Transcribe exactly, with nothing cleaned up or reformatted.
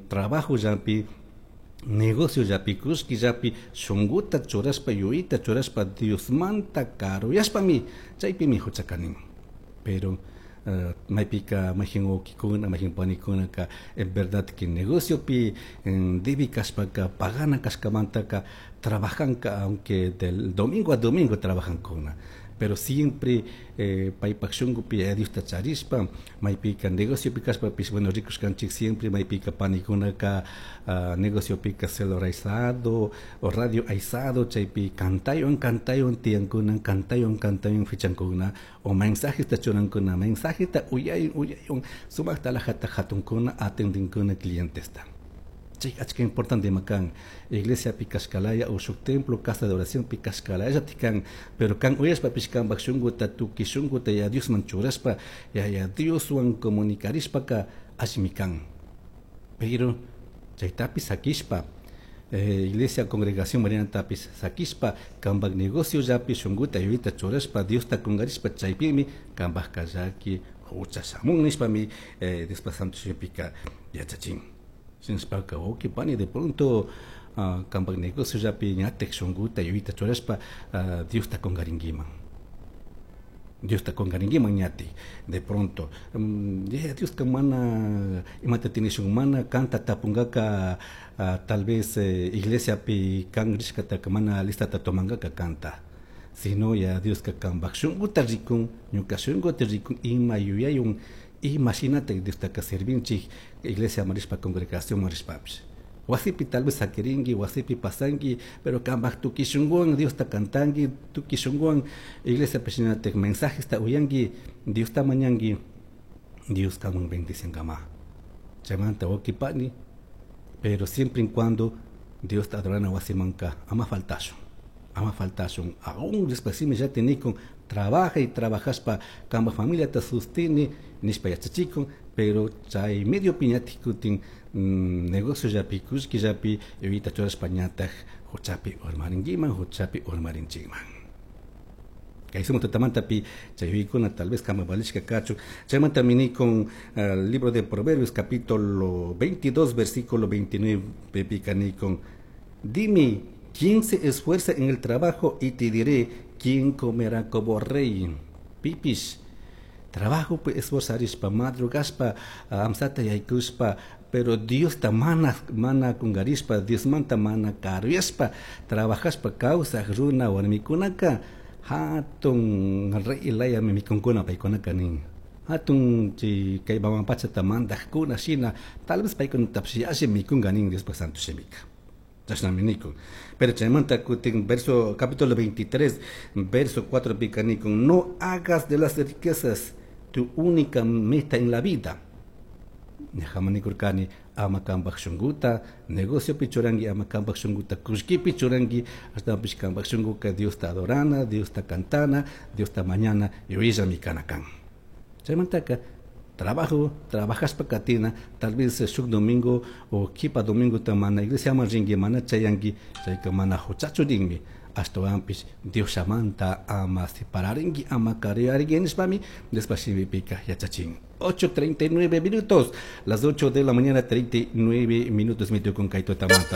Trabajollapi, negociollapi, kullkillapi shunguta churashpa, yuyayta churashpa, Diosmanta karuyashpami chaypimi huchaka nin. Pero uh, maypika mayjin wawkikuna, mayjin panikunaka en verdad que negociopi debi kashpaka, pagana kashkamantaka trabajanka, aunque del domingo a domingo trabajankuna, pero siempre eh, paypak shunkupi Yaya Diosta charishpa maypika negociopi kashpapish, bueno, rikushkanchik siempre maypika panikunaka uh, negociopika celular aysado o radio aysado, chaypi cantaywan cantaywan tiyankuna, cantaywan cantaywan fichankuna o mensajesta churankuna, mensajeta uyaywan uyaywan sumakta alajata hatunkuna, atendinkuna clientesta. Chay achka importante ima kan iglesiapi kashkalaya o shuk templo, casa de oración pi kashkalayallati kan, pero kan uyashpapish kanpak shunkuta, tukuy shunkuta Yaya Diosman churashpa, Yaya Dioswan comunicarishpaka allimi kan. Pero chaytapish sakishpa, eh, iglesia, congregación marinatapish sakishpa, kanpak negociollapi shunkuta yuyayta churashpa, Diosta kungarishpa, chaypimi kanpakka llaki hucha shamun nishpami eh, Diospa Santo Shimipika yachachin. Shinashpaka wawki pani, de pronto uh, kanpak negociollapi ñatik shunkuta yuyayta churashpa uh, Diosta kungarinkiman, Diosta kungarinkiman ñatik de pronto um, Yaya Dioska mana imata tinishun, mana kanta tapungaka, uh, tal vez eh, iglesiapi kan rishkataka mana listata tomangaka kanta, sino Yaya Dioska kanpak shunkuta rikun, ñuka shunkuta rikun, ima yuyayun, ima shinatak Diostaka servinchik iglesia marishpa, congregación marishpapish. Wasipi tal vez sakirinki, wasipi pasanki, pero kanpak tukuy shunkuwan Diosta cantanki, tukuy shunkuwan iglesiapi shinatak mensajesta uyanki, Diosta mañanki, Dios kanman bendiciankama. Chaymanta wawki pani, pero siempre en cuando Diosta adorana wasimanka ama faltashun, ama faltashun. Aún después ya con trabaja y trabajashpa kanpak familiata sostiene nishpa yachachikun, pero chay medio piñatik kutin mm, negociollapi, kullkillapi yuyayta churashpa ñatak huchapi urmarinkiman, huchapi urmarinchikman. Kay sumak tutamantapi chay yuyaykuna tal vez kama valishka kachun. Chaymanta minikun uh, libro de Proverbios capítulo veintidós versículo veintinueve pika nikun: "Dime quién se esfuerza en el trabajo y te diré quién comerá como rey". Pipish trabajo pues esforzarishpa, madrugashpa, amsata yaykushpa, pero Diosta mana mana kungarishpa, Diosmanta mana karuyashpa trabajashpa kawsaj runa warmikunaka hatun rey layami mikunkuna paykunaka nin. Hatun chay kay mama pachata mandajkuna shina tal vez paykunatapish alli mikunka nin Diospak Santo Shimika. Chashnami nikun. Pero chaymanta kutin verso capítulo veintitrés verso cuatro pika nikun: "No hagas de las riquezas tu única meta en la vida". Ñajama nikurkani ama kanpak shunkuta negociopi churanki, ama kanpak shunkuta kullkipi churanki, ashtawanpish kanpak shunkuka Diosta adorana, Diosta cantana, Diosta mañana yuyayllami kana kan. Chaymantaka trabajo, trabajashpa katina, tal vez shuk domingo o kipa domingo ta mana iglesiaman rinki, mana chayanki, chayka mana huchachu rinmi, ashtawanpish Dioshamanta ama separarinki, ama karuyarinki nishpami Diospa shimipika yachachin. ocho treinta y nueve minutos, las ocho de la mañana treinta y nueve minutos, mi con kay tutamanta.